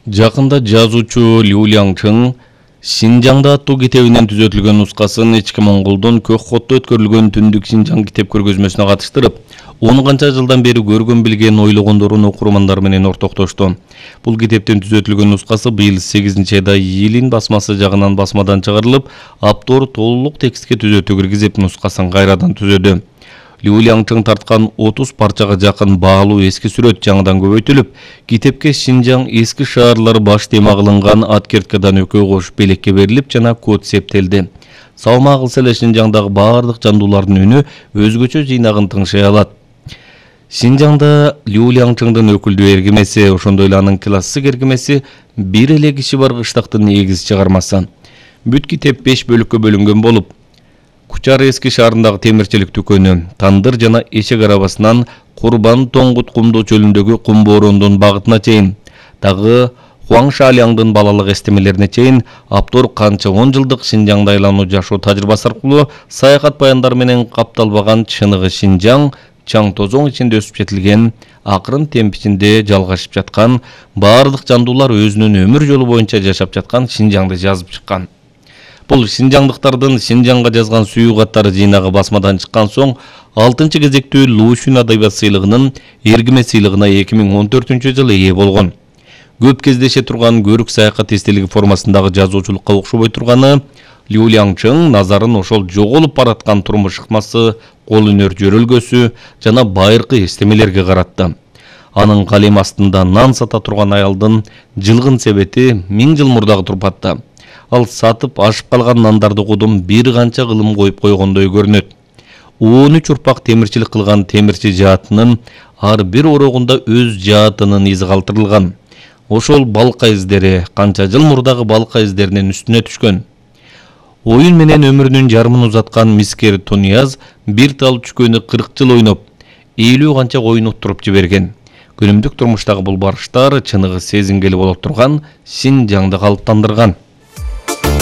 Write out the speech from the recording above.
Жакында жазуучу Лю Ляңчың Шинжаңда аттуу китебинен түзөтүлгөн нускасын ички Монголдун Көкхотто өткөрүлгөн Түндүк Шинжаң китеп көргөзмөсүнө катыштырып, он канча жылдан бери көргөн билген ойлогондорун окурмандар менен ортоктошту. Бул китептин түзөтүлгөн нускасы быйыл 8-айда Йилин басмасы жагынан басмадан чыгарылып, автор толук текстке түзөтүү киргизип, нускасын кайрадан түзөдү. Лю Ляңчың тарткан 30 парчага жакын баалуу эски сүрөт жаңыдан көбөйтүлүп, китепке Шинжаң эски шаарлары баш тема кылынган откерткадан экөө кош белекке берилип жана код септелди. Салма кылса эле Шинжаңдагы баардык жандуулардын үнү өзгөчө жыйнагын тыңшай алат. Шинжаңда Лю Ляңчыңдын өкүлдүү эргимеси, ошондой эле анын классик эргимеси бир эле киши бар кыштактын негиз чыгармасы. Бүт китеп 5 бөлүккө бөлүнгөн болуп, Кучар эски шаарындагы темирчилик дүкөнү, Тандыр жана Эшек арабасынан Курбан Тоңгут кумдуу чөлүндөгү кум бороондун багытына чейин, дагы Хуаң Шаляңдын балалык эстемелерине чейин автор канча 10 жылдык Шинжаңда айлануу жашоо тажрыйбасы аркылуу саякат баяндары менен капталбаган чыныгы Шинжаң, чаң тозоң ичинде өсүп жетилген, акырын темп ичинде жалгашып жаткан, баардык жандуулар өзүнүн өмүр жолу боюнча жашап жаткан Шинжаңды жазып чыккан. Бул шинжаңдыктардын Шинжаңга жазган сүйүү каттары жыйнагы басмадан чыккан соң 6-чы кезектүү Лушүн адабият сыйлыгынын эргиме сыйлыгына 2014-жылы ээ болгон. Көп кездеше турган көрүк саякат эстелиги формасындагы жазуучулукка окшобой турганы, Лю Ляңчың назарын ошол жоголуп бараткан турмуш ыкмасы, кол өнөр жөрөлгөсү жана байыркы эстемелерге каратты. Анын калем астында нан сата турган аялдын жылгын себети 1000 жыл мурдагы турпатта. Ал сатып ашып калган нандарды кудум бир канча кылым коюп койгондой көрүнөт. 13 урпак темирчилик кылган темирчи жаатынын ар бир орогунда өз жаатынын изи калтырылган. Ошол балка издери канча жыл мурдагы балка издеринин үстүнө түшкөн. Оюн менен өмүрүнүн жарымын узаткан мискер Тунияз бир тал чүкөнү 40 жыл ойноп, 50 канча коюн уттуруп жиберген. Күнүмдүк турмуштагы бул барыштар чыныгы сезингели боло турган Шинжаңды калыптандырган.